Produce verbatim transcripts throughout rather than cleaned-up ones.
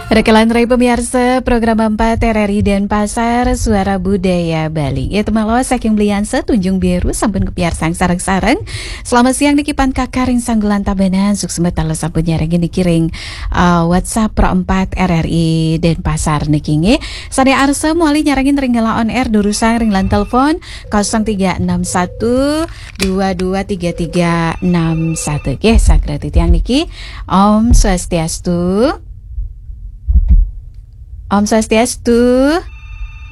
Rekelan rai pamiarsa program empat R R I Denpasar, Suara Budaya Bali. Ya, temalo saking Belian setunjung biru sampun kepiarsang sareng-sareng. Selamat siang niki pan kakaring sanggulan Tabanan, suksma taler sampun nyarengin niki ring, eh, WhatsApp Pro empat R R I Denpasar niki nggih. Sane arsa mawali nyarengin ring Gala On Air durusang ring line telepon kosong tiga enam satu dua dua tiga tiga enam satu. Nggih, sagrati tiang niki. Om Swastiastu. Om Swastiastu.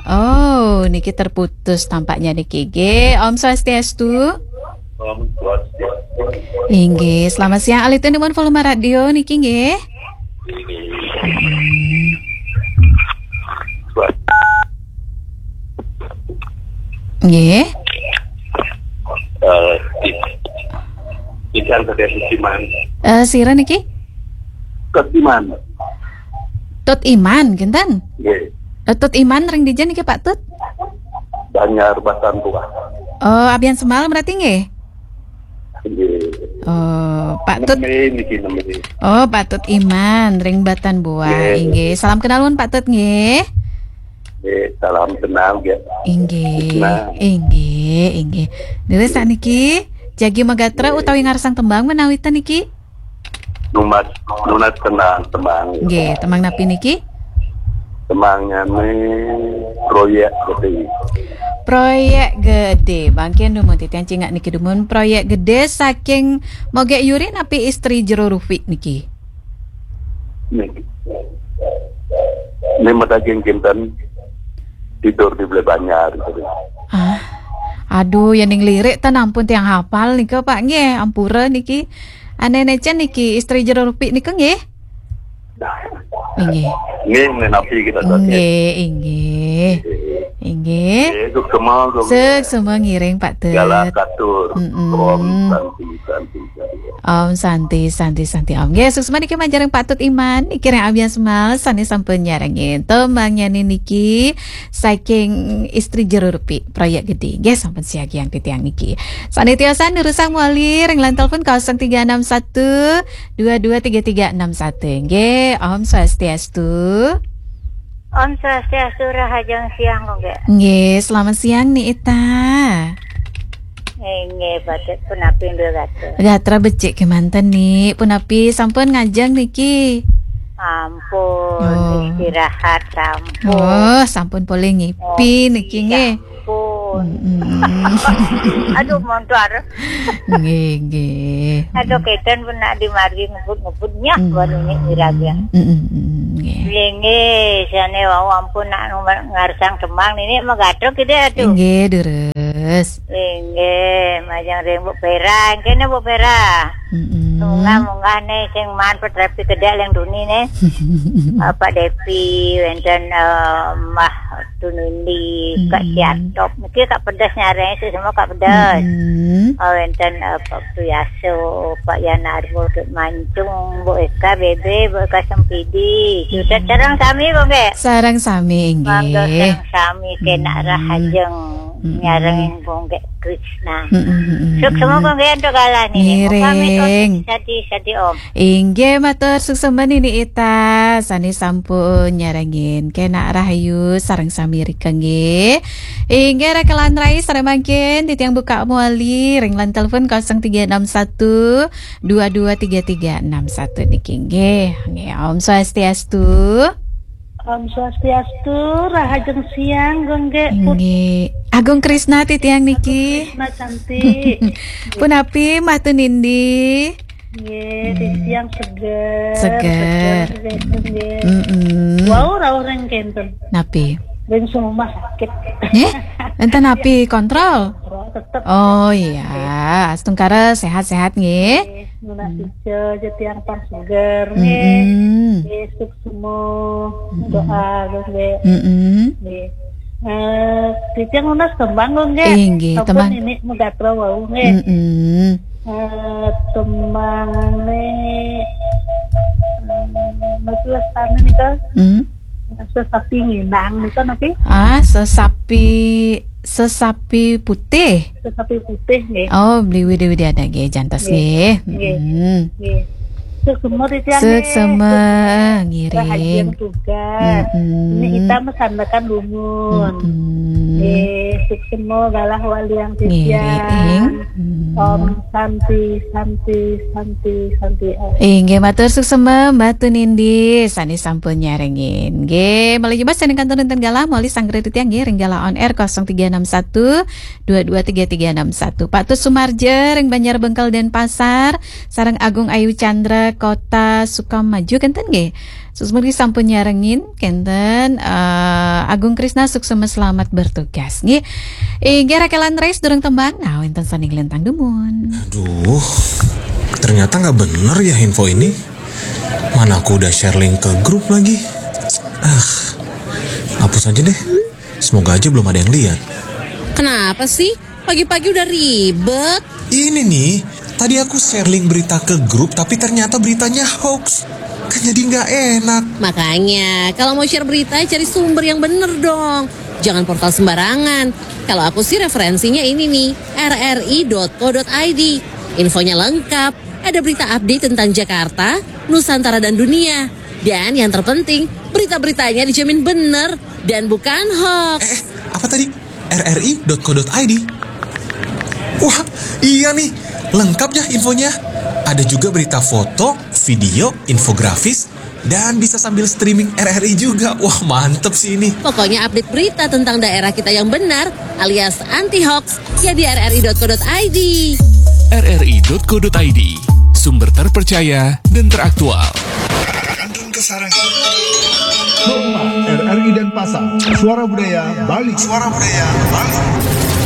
Oh, niki terputus tampaknya niki. Nggih, Om Swastiastu. Om Swastiastu. Inggih, selamat siang. Alitin nuwun volume radio niki nggih. Hmm. Nggih. Eh, di, di Jalan Raya Sudirman. Eh, sira niki? Sudirman. Tut Iman, kinten? Nggih. Eh, Tut Iman ring dija niki, Pak Tut? Banjar Batan Buah. Oh, Abian Semal berarti nggih? Nggih. Oh, Pak Tut. Neme niki, neme. Oh, Pak Tut Iman ring Batan Buah. Nggih. Inggih. Salam kenal nuwun, Pak Tut nggih. Nggih, salam kenal nggih. Inggih. Nah. Inggih, inggih. Nire sakniki jagi magatra utawi ngarsang tembang menawi ten niki? Nunas, nunas tembang, tembang. Nggih, tembang napi niki? Tembangane Proyek Gede. Proyek Gede. Mangkin dumun titiang cingak niki dumun Proyek Gede saking Mogek Yuri napi Istri Jero Rupik niki? Niki. Ini medaging kinten tidur di Bale Banjar gitu. Ah. Aduh, ya ning lirik ten ampun tiang hafal nika, Pak nggih, ampura niki. Ane necen niki Istri Jero Rupik nika nggih? Inggih. Nggih, menapi kita sakit. Inggih, inggih. Inggih. Nggih, suksema, suksema. Suksema ngiring, Pak Tut. Segala katur. Mm-mm. Om Santi, Santi, Santi. Om Santi, Santi, Santi, Om. Nggih, suksema niki manjaring Pak Tut Iman, niki ring Abian Semal, sane sampun nyarengin. Tembang nyane niki saking Istri Jero Rupik, Proyek Gede. Nggih, sampun siagian titiang niki. Sane tiosan durusang mawali ring line telepon kosong tiga enam satu dua dua tiga tiga enam satu. Nggih, Om Swastiastu. Om Swastiastu, rahajeng siang, Gung Gek. Nggih, selamat siang, Ni Ita. Inggih, Batik punapi, Mbak Gatra? Gatra becik kemanten, Ni. Punapi sampun ngajeng niki? Ampun, oh, istirahat sampun. Oh, sampun polih ngipi niki, nggih. Ngopi sampun. Mm-mm. Aduh, montor. Nggih, nggih. Aduh, keten pun nak di margi ngebut-ngebut nyah, mm, baru ni wiragya. Mm, mm, mm, nggih. Nggih, nggih, sane wau ampun nak ngarsang tembang nini megatruk gitu, aduh. Nggih, durus. Nggih, nggih, majeng ring Bu Vera, kene Bu Vera. Mm-mm. Munggah-munggah ne sing maan petrapi kedek leng duni ne. Bapak Depi, wenten, eh, Mbah Tunindi, Kak, mm-mm, Siatop. Niki Kak Pedas nyareng, sih semua Kak Pedas. Mm-mm. Oh, wenten, eh, Pak Tuyaso, Pak Yanarwo, Kak Mancung, Bu Eka Bebe, Bu Eka Sempidi. Sudah, mm-mm, sareng sami, Gung Gek? Sareng sami, mangga nggih. Sareng sami, kenak, mm-mm, rahajeng, mm-mm, nyarengin Gung Gek Krisna. Mm-mm, mm-mm, suksma, mm-mm, Gung Gek, antuk galah nini. Ngiring. Muka mit, sadi, sadi, Om. Inggih, matur suksma Nini Ita, sane sampun nyarengin. Kenak rahayu sareng sami rika nggih. Inggih, rekelan rai sareng mangkin titiang buka mawali ring line telepon kosong tiga enam satu dua dua tiga tiga enam satu niki nggih. Nggih, Om Swastiastu. Om Swastiastu, rahajeng siang, Gung Gek. Pun- Inggih. Agung Krisna titiang niki. Agung Krisna cantik. Punapi, Mbah Tunindi? Nggih, hmm, titiang seger. Seger. Seger, seger, nggih. Mm-mm. Wau rauh ring kenten. Napi? Ring sumah sakit. Nggih? Enten napi, kontrol? Kontrol tetep. Oh, iya. Astungkara sehat-sehat nggih. Nggih, nunas, hmm, ica aja tiang pang seger nggih. Mm-mm. Nggih, suksma, mm-mm, doa nggih. Mm-mm. Nggih. Eh, titiang nunas tembang nggih. Eh, nggih, sampun tembang. Nini megatra wau nggih. Mm-mm. Eh, tembangane, eh, Mas Lestari nika. Hmm. Sesapi nginang nika napi? Ah, sesapi, sesapi putih. Sesapi putih nggih. Oh, beli widi-widi ada nggih, jantos nggih. Nggih. Nggih. Hmm. Nggih. Suksma titiang. Suksma, ngiring. Rahajeng tugas. Mm-mm. Ini kita mesandakan lungun. Mm-mm. Nggih, suksma galah waliang titiang. Ngiring. Mm. Om Santi, Santi, Santi, Santi, Om. Inggih, matur suksma Mbah Tunindi sané sampun nyarengin. Nggih, malih nyebat sané kantun wonten galah, malih sanggra titiang nggih ring galah on air kosong tiga enam satu dua dua tiga tiga enam satu. Pak Tus Sumarja ring Banjar Bengkel Denpasar, sareng Agung Ayu Chandra Kota Sukamaju kenten nggih. Suksma sampun nyarengin kenten, eh, Agung Krisna suksma selamat bertugas nggih. Inggih Rakelan Res durung tembang. Nah, wenten sané nglintang dumun. Aduh, ternyata nggak bener ya info ini. Mana aku udah share link ke grup lagi. Ah, hapus aja deh. Semoga aja belum ada yang lihat. Kenapa sih? Pagi-pagi udah ribet. Ini nih, tadi aku share link berita ke grup, tapi ternyata beritanya hoax. Kan jadi nggak enak. Makanya, kalau mau share berita, cari sumber yang bener dong. Jangan portal sembarangan. Kalau aku sih referensinya ini nih, R R I dot co dot I D. Infonya lengkap, ada berita update tentang Jakarta, Nusantara dan dunia. Dan yang terpenting, berita-beritanya dijamin bener dan bukan hoax. Eh, eh, apa tadi? R R I dot co dot I D. Wah, iya nih, lengkap ya infonya. Ada juga berita foto, video, infografis, dan bisa sambil streaming R R I juga. Wah, mantep sih ini. Pokoknya update berita tentang daerah kita yang benar alias anti hoax ya di R R I dot co dot I D. R R I dot co dot I D, sumber terpercaya dan teraktual. Kantun Kesarengan. Rumah R R I Denpasar, Suara Budaya Bali. Suara Budaya Bali.